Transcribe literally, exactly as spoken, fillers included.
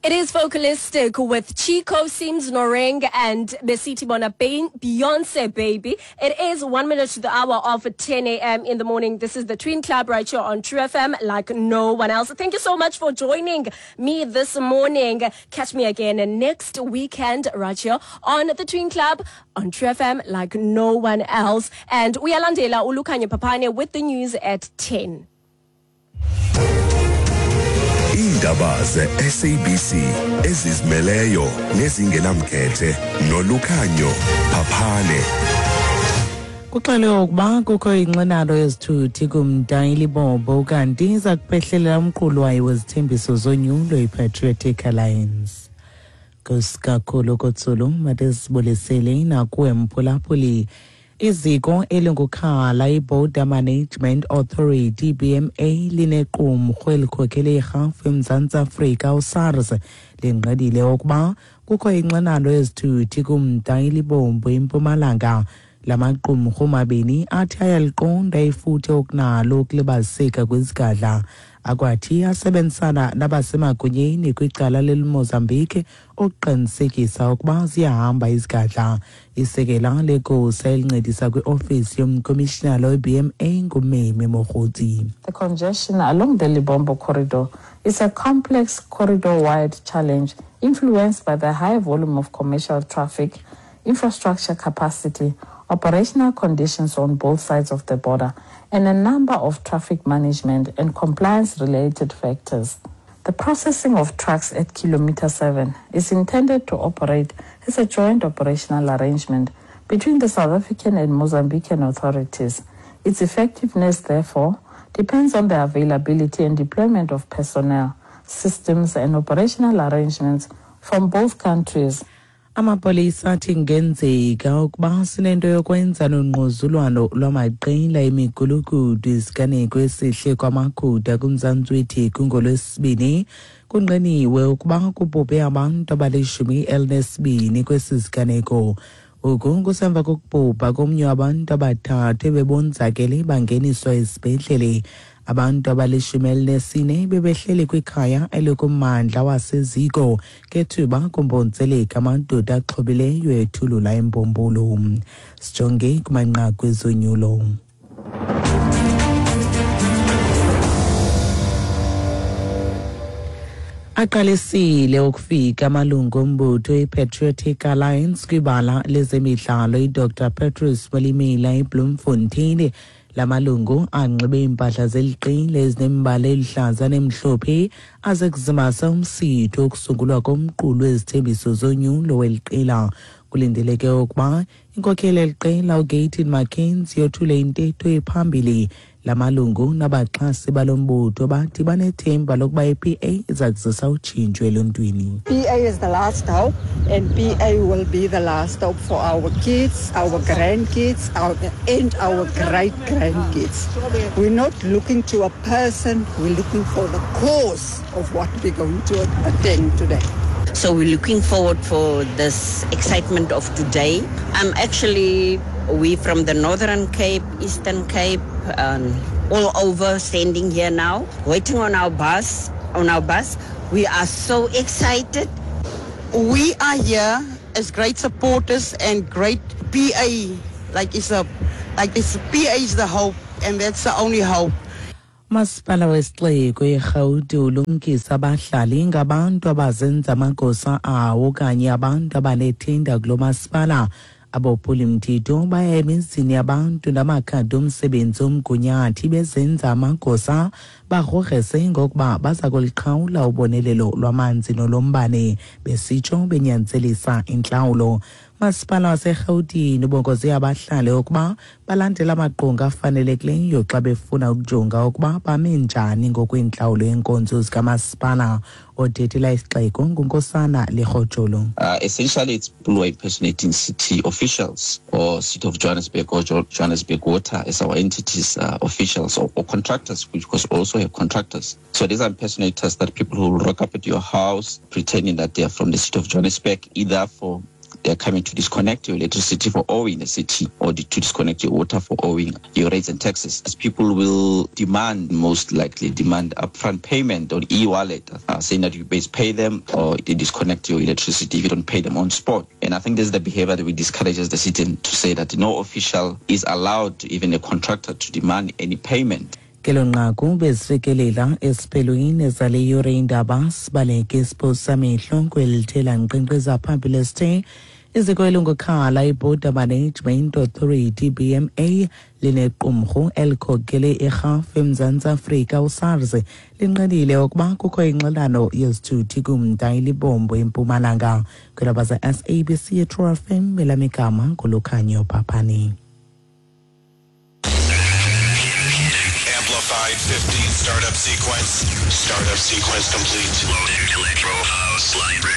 It is Focalistic with Chico Sims Noreng and Besiti Bona Beyonce Baby. It is one minute to the hour of ten a m in the morning. This is the Twin Club right here on True F M like no one else. Thank you so much for joining me this morning. Catch me again next weekend right here on the Twin Club on True F M like no one else. And uyalandela uLukhanyo Papane with the news at ten. Iindaba ze-S A B C ezizimeleyo nezingenamkhethe noLukhanyo Papane. Kuxelwe ukuba kukho inxenano yezithuthi kumda iLibombo kanti iza kuphehlelela umqulu wayo wezithembiso zonyulo iPatriotic Alliance. Nkosi Kotsolo matesibulisele nakuwe mphulaphuli. Iziko elingukhala iBorder Management Authority B M A linequmrhu elikhokele irhafu eMzantsi Afrika uSARS lingqedile ukuba kukho inxenano yezithuthi kumda iLibombo eMpumalanga. Lamaqumrhu mabini athi ayaliqonda ifuthe okunalo ukulibaziseka kwezigadla. Akwathi asebenzisana nabasemagunyeni kwicala leMozambique ukuqinisekisa ukuba ziyahamba izigadla. Isekela legosa elincedisa kwiofisi yomkomishinala we-B M A nguMeme Mogotsi. The congestion along the Lebombo corridor is a complex corridor-wide challenge influenced by the high volume of commercial traffic, infrastructure capacity, operational conditions on both sides of the border, and a number of traffic management and compliance-related factors. The processing of trucks at Kilometer seven is intended to operate as a joint operational arrangement between the South African and Mozambican authorities. Its effectiveness, therefore, depends on the availability and deployment of personnel, systems, and operational arrangements from both countries. Amapolisa athi kungenzeka ukuba sinento yokwenza nongquzulwano lwamaqela emigulukudu isiganeko esihle kwaMaguda kuMzantsi weTheku ngolwesibini. Kungqiniwe ukuba kubhubhe abantu abalishumi elinesibini kwesi siganeko. Oku kusemva kokubhubha komnye wabantu abathathu ebebonzakele bangeniswa esibhedlele. Abantu abalishumi elinesine bebehleli kwikhaya elikummandla waseziko ngethuba kumbonzeleka amadoda axhobileyo ethulula imbombolo. Sijonge kumanqaku ezonyulo. Aqalisile ukufika amalungu ombutho iPatriotic Alliance kwibala lezemidlalo iDr Petrus Molimela eBloemfontein. Lamalungu anxibe iimpahla zeliqela ezinembala eluhlaza nemhlophe aze kuzimasa umsitho wokusungulwa komqulu wezithembiso zonyulo weliqela. Kulindeleke ukuba inkokheli yeliqela uGayton McKenzie yothule intetho ephambili. Lamalungu nabaxhasi balombutho bathi banethemba lokuba i-P A iza kuzisa utshintsho eluntwini. P A is the last hope, and P A will be the last hope for our kids, our grandkids, our, and our great-grandkids. We're not looking to a person, we're looking for the cause of what we're going to attend today. So we're looking forward for this excitement of today. I'm actually, we from the Northern Cape, Eastern Cape, um, all over standing here now, waiting on our bus, on our bus. We are so excited. We are here as great supporters and great P A. Like it's a, like it's P A is the hope, and that's the only hope. Masipala wesixeko eRhawuti ulumkisa abahlali ngabantu abazenza amagosa awo okanye abantu abanethinda kulo masipala. Abophulimthetho baya emizini yabantu namakhadi omsebenzi omgunyathi bezenza amagosa bagrogrese ngokuba baza kuliqhawula ubonelelo lwamanzi nolombane besitsho benyanzelisa intlawulo. Masipala waseRhawutini ubongoze abahlali ukuba balandele amaqonga afanelekileyo xa befuna ukujonga ukuba bame njani ngokwentlawulo yenkonzo zikamasipala. Othethela isixeko nguNkosana Lekgotjolo. Uh, essentially, it's people who are impersonating city officials or City of Johannesburg or jo- Johannesburg Water as our entities, uh, officials or, or contractors, which of course also have contractors. So these are impersonators that people who rock up at your house pretending that they are from the City of Johannesburg, either for They're coming to disconnect your electricity for owing the city, or to disconnect your water for owing your rates and taxes. As people will demand, most likely demand upfront payment on e-wallet, uh, saying that you best pay them or they disconnect your electricity if you don't pay them on spot. And I think this is the behavior that we discourage as the city to say that no official is allowed, even a contractor, to demand any payment. Kelo nqaku bezifikelela esiphelweni zale yure indaba. Sibaleke isiphosamehlo kwelithela nkqenkqeza phambili esithe iziko elingukhala iBorder Management Authority, B M A, linequmrhu elikhokele irhafu eMzantsi Afrika, uSARS, linqinile ukuba kukho ingxinano yezithuthi kumda iLibombo eMpumalanga. Kwilaba ze-S A B C yeTrue F M, elamigama nguLukhanyo Phaphani. Amplified fifteen startup sequence. Startup sequence complete. Loading electro house library.